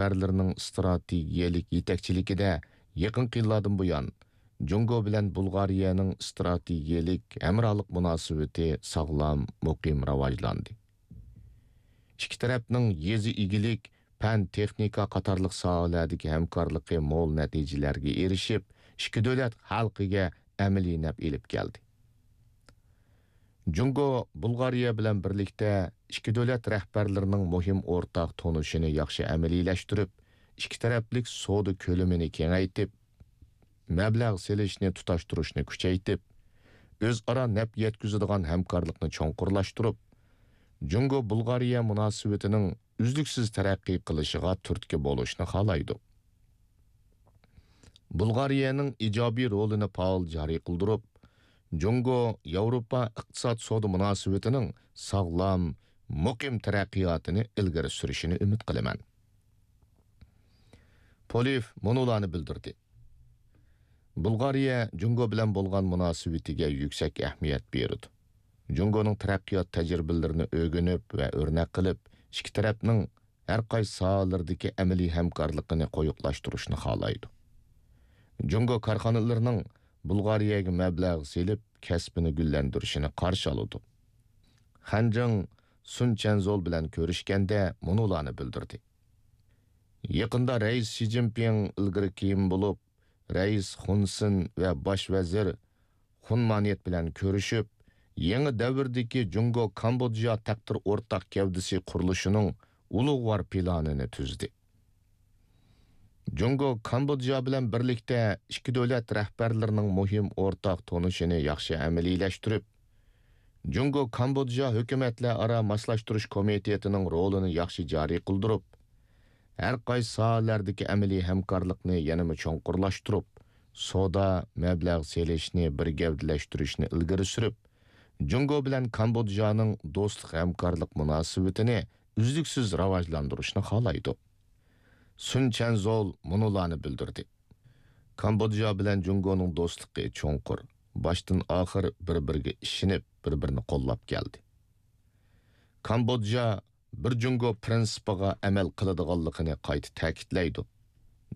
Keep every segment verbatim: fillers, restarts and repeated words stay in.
رەھبەرلىرىنىڭ ئىستراتېگىيەلىك يېتەكچىلىكىدە يېقىنقى يىللاردىن بۇيان، جۇڭگو بىلەن بۇلغارىيەنىڭ ئىستراتېگىيەلىك ھەمراھلىق مۇناسىۋىتى ساغلام، مۇقىم راۋاجلاندى. ئىككى تەرەپنىڭ يېزا ئىگىلىك، پەن، تېخنىكا قاتارلىق ساھەلەردىكى ھەمكارلىقى مول نەتىجىلەرگە ئېرىشىپ، ئىككى دۆلەت خەلقىگە ئەمەلىي نەپ ئېلىپ كەلدى. جۇڭگو بۇلغارىيە بىلەن بىرلىكتە ئىككى دۆلەت رەھبەرلىرىنىڭ مۇھىم ئورتاق تونۇشىنى ياخشى ئەمەلىيلەشتۈرۈپ، ئىككى تەرەپلىك سودا كۆلىمىنى كېڭەيتىپ، مەبلەغ سېلىشنى تۇتاشتۇرۇشنى كۈچەيتىپ، ئۆزئارا نەپ يەتكۈزىدىغان ھەمكارلىقنى چوڭقۇرلاشتۇرۇپ، جۇڭگو بۇلغارىيە مۇناسىۋىتىنىڭ ئۈزلۈكسىز تەرەققىي قىلىشىغا تۈرتكە بولۇشنى خالايدۇ. بۇلغارىيەنىڭ ئىجابىي رولىنى پائال جارى قىلدۇرۇپ، جۇڭگو ياۋروپا ئىقتىساد سودا مۇناسىۋىتىنىڭ ساغلام، مۇقىم تەرەققىياتىنى ئىلگىرى سۈرۈشىنى ئۈمىد قىلىمەن. پولېف مۇنۇلارنى بىلدۈردى. بۇلغارىيە جۇڭگو بىلەن بولغان مۇناسىۋىتىگە يۈكسەك ئەھمىيەت بېرىدۇ. جۇڭگونىڭ تەرەققىيات تەجرىبىلىرىنى ئۆگىنىپ ۋە ئۆرنەك قىلىپ، ئىككى تەرەپنىڭ ھەر قايسى ساھەلىرىدىكى ئەمەلىي ھەمكارلىقىنى قويۇقلاشتۇرۇشنى خالايدۇ. جۇڭگو كارخانىلىرىنىڭ بۇلغارىيەگە مەبلەغ سېلىپ، كەسپىنى گۈللەندۈرۈشىنى قارشى ئالىدۇ. خەنجىڭ سۇن چەنزول بىلەن كۆرۈشكەندە مۇنۇلارنى بىلدۈردى. يېقىندا رەئىس شى جىنپىڭ ئىلگىرى كېيىن بولۇپ، رەئىس خۇن سېن ۋە باش ۋەزىر خۇن مانيېت بىلەن كۆرۈشۈپ، يېڭى دەۋردىكى جۇڭگو كامبودژا تەقدىر ئورتاق گەۋدىسى قۇرۇلۇشىنىڭ ئۇلۇغۋار پىلانىنى تۈزدى. جۇڭگو كامبودژا بىلەن بىرلىكتە ئىككى دۆلەت رەھبەرلىرىنىڭ مۇھىم ئورتاق تونۇشىنى ياخشى ئەمەلىيلەشتۈرۈپ، جۇڭگو كامبودژا ھۆكۈمەتلەر ئارا ماسلاشتۇرۇش كومىتېتىنىڭ رولىنى ياخشى جارى قىلدۇرۇپ، ھەر قايسى ساھەلەردىكى ئەمەلىي ھەمكارلىقنى يەنىمۇ چوڭقۇرلاشتۇرۇپ، سودا، مەبلەغ سېلىشنى بىر گەۋدىلەشتۈرۈشنى ئىلگىرى سۈرۈپ، جۇڭگو بىلەن كامبودژانىڭ دوستلۇق ھەمكارلىق مۇناسىۋىتىنى ئۈزلۈكسىز راۋاجلاندۇرۇشنى خالايدۇ. سۇن چەنزول مۇنۇلارنى بىلدۈردى. كامبودژا بىلەن جۇڭگونىڭ دوستلۇقى چوڭقۇر، باشتىن ئاخىر بىر-بىرىگە ئىشىنىپ، بىر-بىرىنى قوللاپ كەلدى. كامبودژا بىر جۇڭگو پىرىنسىپىغا ئەمەل قىلىدىغانلىقىنى قايتا تەكىتلەيدۇ.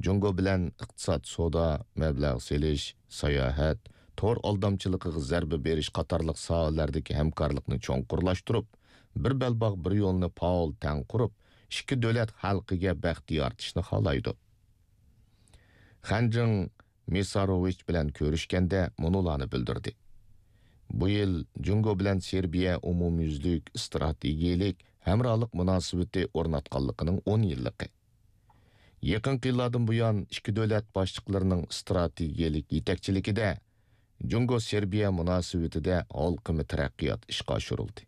جۇڭگو بىلەن ئىقتىساد، سودا، مەبلەغ سېلىش، ساياھەت، تور ئالدامچىلىقىغا زەربە بېرىش قاتارلىق ساھەلەردىكى ھەمكارلىقنى چوڭقۇرلاشتۇرۇپ، بىر بەلباغ، بىر يولنى پائال تەڭ قۇرۇپ، ئىككى دۆلەت خەلقىگە بەخت يارىتىشنى خالايدۇ. خەنجىڭ مىساروۋىچ بىلەن كۆرۈشكەندە مۇنۇلارنى بىلدۈردى. بۇ يىل جۇڭگو بىلەن سېربىيە ئومۇميۈزلۈك ئىستراتېگىيەلىك ھەمراھلىق مۇناسىۋىتى ئورناتقانلىقىنىڭ ئون يىللىقى. يېقىنقى يىللاردىن بۇيان، ئىككى دۆلەت باشلىقلىرىنىڭ ئىستراتېگىيەلىك يېتەكچىلىكىدە جۇڭگو سېربىيە مۇناسىۋىتىدە ھالقىما تەرەققىيات ئىشقا ئاشۇرۇلدى.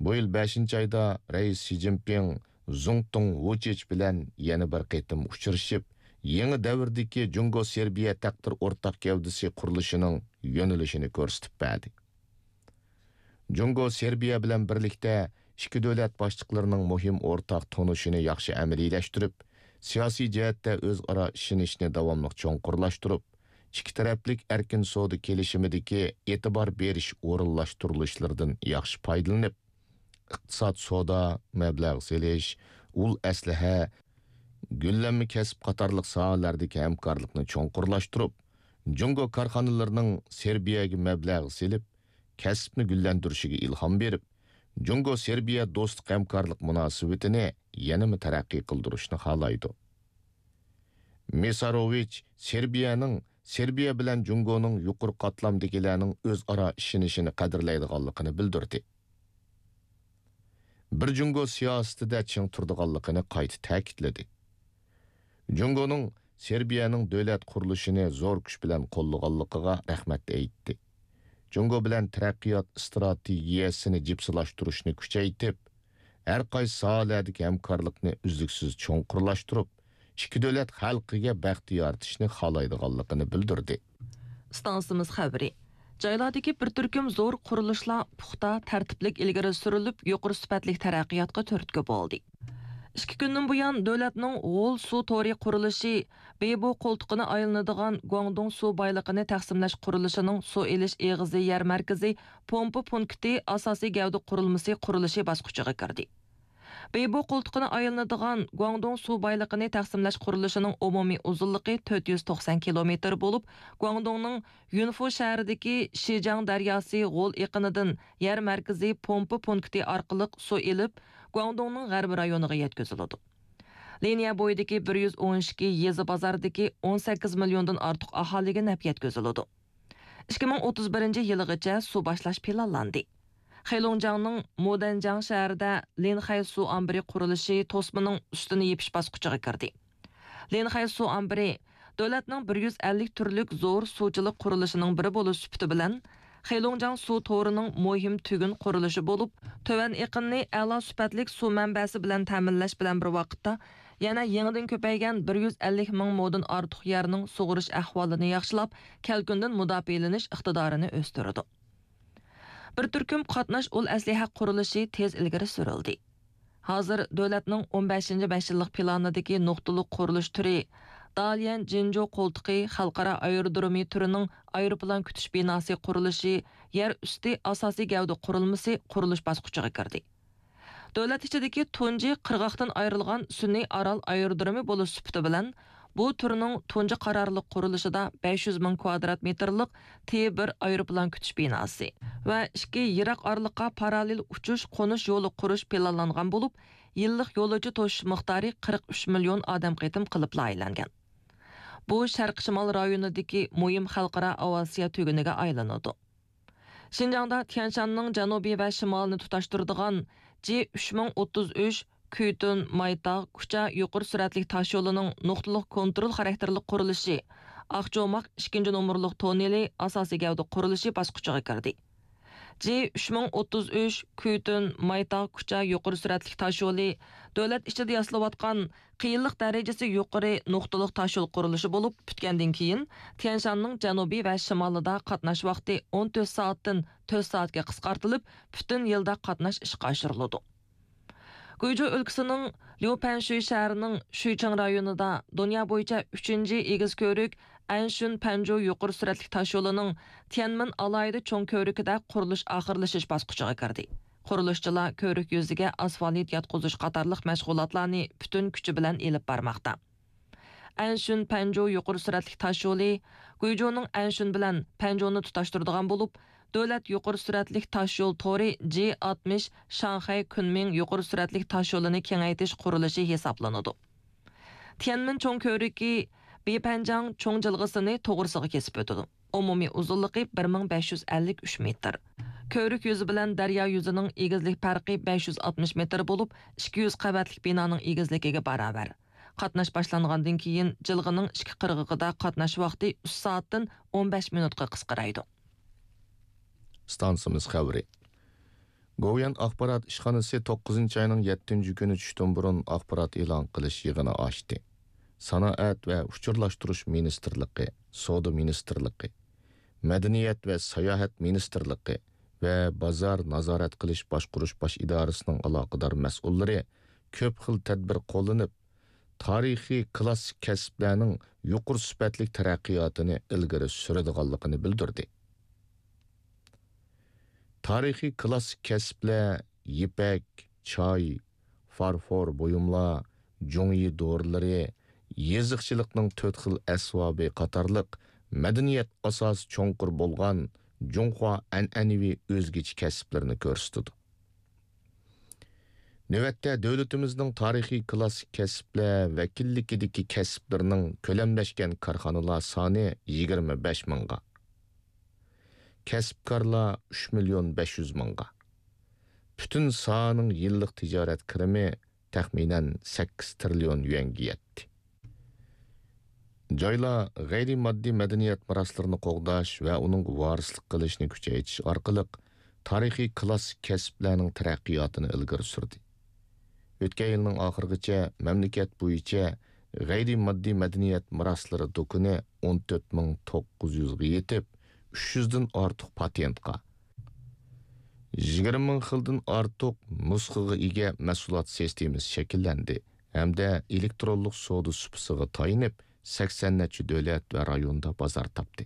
بۇ يىل بەشىنچى ئايدا رەئىس شى جىنپىڭ زۇڭتۇڭ ۋۇچىچ بىلەن يەنە بىر قېتىم ئۇچرىشىپ، يېڭى دەۋردىكى جۇڭگو سېربىيە تەقدىر ئورتاق گەۋدىسى قۇرۇلۇشىنىڭ يۆنىلىشىنى كۆرسىتىپ بەردى. جۇڭگو سېربىيە بىلەن بىرلىكتە ئىككى دۆلەت باشلىقلىرىنىڭ مۇھىم ئورتاق تونۇشىنى ياخشى ئەمەلىيلەشتۈرۈپ، سىياسىي جەھەتتە ئۆزئارا ئىشىنىشنى داۋاملىق چوڭقۇرلاشتۇرۇپ، ئىككى تەرەپلىك ئەركىن سودا كېلىشىمىدىكى ئېتىبار بېرىش ئورۇنلاشتۇرۇلۇشلىرىدىن ياخشى پايدىلىنىپ، ئىقتىساد، سودا، مەبلەغ سېلىش، ئۇل ئەسلىھە، گۈللەنمە كەسىپ قاتارلىق ساھەلەردىكى ھەمكارلىقنى چوڭقۇرلاشتۇرۇپ، جۇڭگو كارخانىلىرىنىڭ سېربىيەگە مەبلەغ سېلىپ، كەسىپنى گۈللەندۈرۈشىگە ئىلھام بېرىپ، جۇڭگو سېربىيە دوستلۇق ھەمكارلىق مۇناسىۋىتىنى يەنىمۇ تەرەققىي قىلدۇرۇشنى خالايدۇ. مىساروۋىچ سېربىيەنىڭ، سېربىيە بىلەن جۇڭگونىڭ يۇقىرى قاتلامدىكىلەرنىڭ ئۆزئارا ئىشىنىشىنى قەدىرلەيدىغانلىقىنى بىلدۈردى. بىر جۇڭگو سىياسىتىدە چىڭ تۇرىدىغانلىقىنى قايتا تەكىتلىدى. جۇڭگونىڭ سېربىيەنىڭ دۆلەت قۇرۇلۇشىنى زور كۈچ بىلەن قوللىغانلىقىغا رەھمەت ئېيتتى. جۇڭگو بىلەن تەرەققىيات ئىستراتېگىيەسىنى جىپسىلاشتۇرۇشنى كۈچەيتىپ، ھەر قايسى ساھەلەردىكى ھەمكارلىقنى ئۈزلۈكسىز چوڭقۇرلاشتۇرۇپ، ئىككى دۆلەت خەلقىگە بەخت يارىتىشنى خالايدىغانلىقىنى بىلدۈردى. ئىستانسىمىز خەۋىرى. جايلاردىكى بىر تۈركۈم زور قۇرۇلۇشلار پۇختا، تەرتىپلىك ئىلگىرى سۈرۈلۈپ، يۇقىرى سۈپەتلىك تەرەققىياتقا تۈرتكە بولدى. ئىككى كۈندىن بۇيان، دۆلەتنىڭ غول سۇ تورى قۇرۇلۇشى بېيبو قولتۇقىنى ئايلىنىدىغان گۇاڭدۇڭ سۇ بايلىقىنى تەقسىملەش قۇرۇلۇشىنىڭ سۇ ئېلىش ئېغىزى يەر مەركىزى پومپا پونكىتى ئاساسىي گەۋدە قۇرۇلمىسى قۇرۇلۇشى باسقۇچىغا كىردى. بېيبو قولتۇقىنى ئايلىنىدىغان گۇاڭدۇڭ سۇ بايلىقىنى تەقسىملەش قۇرۇلۇشىنىڭ ئومۇمىي ئۇزۇنلۇقى تۆت يۈز توقسان كىلومېتىر بولۇپ، گۇاڭدۇڭنىڭ يۈنفۇ شەھىرىدىكى شىجاڭ دەرياسى غول ئېقىنىدىن يەر مەركىزى پومپا پونكىتى ئارقىلىق سۇ ئېلىپ، گۇاڭدۇڭنىڭ غەربىي رايونىغا يەتكۈزۈلىدۇ. لىنىيە بويىدىكى بىر يۈز ئون ئىككى يېزا بازاردىكى ئون سەككىز مىليوندىن ئارتۇق ئاھالىگە نەپ يەتكۈزۈلىدۇ. ئىككى مىڭ ئوتتۇز بىرىنچى يىلىغىچە سۇ باشلاش پىلانلاندى. خېلۇڭجياڭنىڭ مودەنجياڭ شەھىرىدە لىنخەي سۇ ئامبىرى قۇرۇلۇشى توسمىنىڭ ئۈستىنى يېپىش باسقۇچىغا كىردى. لىنخەي سۇ ئامبىرى دۆلەتنىڭ بىر يۈز ئەللىك تۈرلۈك زور سۇچىلىق قۇرۇلۇشىنىڭ بىرى بولۇش سۈپىتى بىلەن، خېلۇڭجياڭ سۇ تورىنىڭ مۇھىم تۈگۈن قۇرۇلۇشى بولۇپ، تۆۋەن ئېقىننى ئەلا سۈپەتلىك سۇ مەنبەسى بىلەن تەمىنلەش بىلەن بىر ۋاقىتتا، يەنە يېڭىدىن كۆپەيگەن بىر يۈز ئەللىك مىڭ مودىن ئارتۇق يەرنىڭ سۇغىرىش ئەھۋالىنى ياخشىلاپ، كەلكۈندىن مۇداپىئەلىنىش ئىقتىدارىنى ئۆستۈرىدۇ. بىر تۈركۈم قاتناش ئۇل ئەسلىھە قۇرۇلۇشى تېز ئىلگىرى سۈرۈلدى. ھازىر دۆلەتنىڭ ئون بەشىنچى بەش يىللىق پىلانىدىكى نۇقتىلىق قۇرۇلۇش تۈرى، داليەن جىنجۇ قولتۇقى خەلقئارا ئايرودرومى تۈرىنىڭ ئايروپىلان كۈتۈش بىناسى قۇرۇلۇشى يەر ئۈستى ئاساسىي گەۋدە قۇرۇلمىسى قۇرۇلۇش باسقۇچىغا كىردى. دۆلەت ئىچىدىكى تۇنجى قىرغاقتىن ئايرىلغان سۈنئىي ئارال ئايرودرومى بولۇش سۈپىتى بىلەن، بۇ تۈرنىڭ تۇنجى قارارلىق قۇرۇلۇشىدا بەش يۈز مىڭ كۋادرات مېتىرلىق تى بىر ئايروپىلان كۈتۈش بىناسى ۋە ئىككى يىراق ئارىلىققا پاراللېل ئۇچۇش، قونۇش يولى قۇرۇش پىلانلانغان بولۇپ، يىللىق يولۇچى توشۇش مىقدارى قىرىق ئۈچ مىليون ئادەم قېتىم قىلىپ لايىھەلەنگەن. بۇ شەرقىي شىمال رايونىدىكى مۇھىم خەلقئارا ئاۋىئاتسىيە تۈگۈنىگە ئايلىنىدۇ. شىنجاڭدا تيەنشاننىڭ جەنۇبى ۋە شىمالىنى تۇتاشتۇرىدىغان جى ئۈچ مىڭ ئوتتۇز ئۈچ كۈيتۈن مايتاغ كۇچا يۇقىرى سۈرئەتلىك تاشيولىنىڭ نۇقتىلىق كونترول خاراكتېرلىك قۇرۇلۇشى، ئاقچوماق ئىككىنچى نومۇرلۇق توننېلى ئاساسىي گەۋدە قۇرۇلۇشى باسقۇچىغا كىردى. جى ئۈچ مىڭ ئوتتۇز ئۈچ كۈيتۈن مايتاغ كۇچا يۇقىرى سۈرئەتلىك تاشيولى دۆلەت ئىچىدە ياسىلىۋاتقان قىيىنلىق دەرىجىسى يۇقىرى نۇقتىلىق تاشيول قۇرۇلۇشى بولۇپ پۈتكەندىن كېيىن، تيەنشاننىڭ جەنۇبى ۋە شىمالىدا قاتناش ۋاقتى ئون تۆت سائەتتىن تۆت سائەتكە قىسقارتىلىپ، پۈتۈن يىلدا قاتناش ئىشقا ئاشۇرۇلىدۇ. گۇيجۇ ئۆلكىسىنىڭ ليۇپەنشۈي شەھىرىنىڭ شۈيچىڭ رايونىدا دۇنيا بويىچە ئۈچىنچى ئېگىز كۆۋرۈك ئەنشۈن پەنجۇ يۇقىرى سۈرئەتلىك تاشيولىنىڭ تيەنمىن ئالاھىدە چوڭ كۆۋرۈكىدە قۇرۇلۇش ئاخىرلىشىش باسقۇچىغا كىردى. قۇرۇلۇشچىلار كۆۋرۈك يۈزىگە ئاسفالت ياتقۇزۇش قاتارلىق مەشغۇلاتلارنى پۈتۈن كۈچى بىلەن ئېلىپ بارماقتا. ئەنشۈن پەنجۇ يۇقىرى سۈرئەتلىك تاشيولى گۇيجۇنىڭ ئەنشۈن بىلەن پەنجۇنى تۇتاشتۇرىدىغان بولۇپ، دۆلەت يۇقىرى سۈرئەتلىك تاشيول تورى جى ئاتمىش شاڭخەي كۈنمىڭ يۇقىرى سۈرئەتلىك تاشيولىنى كېڭەيتىش قۇرۇلۇشى ھېسابلىنىدۇ. تيەنمىن چوڭ كۆۋرۈكى بىپەنجاڭ چوڭ جىلغىسىنى توغرىسىغا كېسىپ ئۆتىدۇ. ئومۇمىي ئۇزۇنلۇقى بىر مىڭ بەش يۈز ئەللىك ئۈچ مېتىر. كۆۋرۈك يۈزى بىلەن دەريا يۈزىنىڭ ئېگىزلىك پەرقى بەش يۈز ئاتمىش مېتىر بولۇپ، ئىككى يۈز قەۋەتلىك بىنانىڭ ئېگىزلىكىگە باراۋەر. قاتناش باشلانغاندىن كېيىن، جىلغىنىڭ ئىككى قىرغىقىدا قاتناش ۋاقتى ئۈچ سائەتتىن ئون بەش مىنۇتقا قىسقىرايدۇ. ئىستانسىمىز خەۋىرى. گوۋۇيۈەن ئاخبارات ئىشخانىسى توققۇزىنچى ئاينىڭ يەتتىنچى كۈنى چۈشتىن بۇرۇن ئاخبارات ئېلان قىلىش يىغىنى ئاچتى. سانائەت ۋە ئۇچۇرلاشتۇرۇش مىنىستىرلىقى، سودا مىنىستىرلىقى، مەدەنىيەت ۋە ساياھەت مىنىستىرلىقى ۋە بازار نازارەت قىلىش باشقۇرۇش باش ئىدارىسىنىڭ ئالاقىدار مەسئۇللىرى كۆپ خىل تەدبىر قوللىنىپ، تارىخىي كىلاسسىك كەسىپلەرنىڭ يۇقىرى سۈپەتلىك تەرەققىياتىنى ئىلگىرى سۈرىدىغانلىقىنى بىلدۈردى. تارىخىي كىلاسسىك كەسىپلەر يىپەك، چاي، فارفور بۇيۇملار، جۇڭيى دورىلىرى، يېزىقچىلىقنىڭ تۆت خىل ئەسۋابى قاتارلىق مەدەنىيەت ئاساسى چوڭقۇر بولغان جۇڭخۇا ئەنئەنىۋى ئۆزگىچە كەسىپلىرىنى كۆرسىتىدۇ. نۆۋەتتە دۆلىتىمىزنىڭ تارىخىي كىلاسسىك كەسىپلەر ۋەكىللىكىدىكى كەسىپلىرىنىڭ كۆلەملەشكەن كارخانىلار سانى يىگىرمە بەش مىڭغا، كەسىپكارلار ئۈچ مىليون بەش يۈز مىڭغا، پۈتۈن ساھەنىڭ يىللىق تىجارەت كىرىمى تەخمىنەن سەككىز تىرىليون يۈەنگە يەتتى. جايلار غەيرىي ماددىي مەدەنىيەت مىراسلىرىنى قوغداش ۋە ئۇنىڭغا ۋارىسلىق قىلىشنى كۈچەيتىش ئارقىلىق تارىخىي كىلاسسىك كەسىپلەرنىڭ تەرەققىياتىنى ئىلگىرى سۈردى. ئۆتكەن يىلنىڭ ئاخىرىغىچە مەملىكەت بويىچە غەيرىي ماددىي مەدەنىيەت مىراسلىرى دۇكىنى ئون تۆت مىڭ توققۇز يۈزگە يېتىپ، ئۈچ يۈزدىن ئارتۇق پاتېنتقا، يىگىرمە مىڭ خىلدىن ئارتۇق نۇسخىغا ئىگە مەھسۇلات سىستېمىسى شەكىللەندى ھەمدە ئېلېكترونلۇق سودا سۇپىسىغا تايىنىپ، سەكسەن نەچچە دۆلەت ۋە رايوندا بازار تاپتى.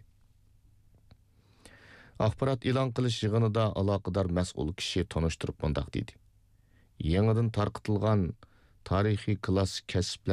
ئاخبارات ئېلان قىلىش يىغىنىدا ئالاقىدار مەسئۇل كىشى تونۇشتۇرۇپ مۇنداق دېدى: يېڭىدىن تارقىتىلغان تارىخىي كلاسسىك كەسىپلەر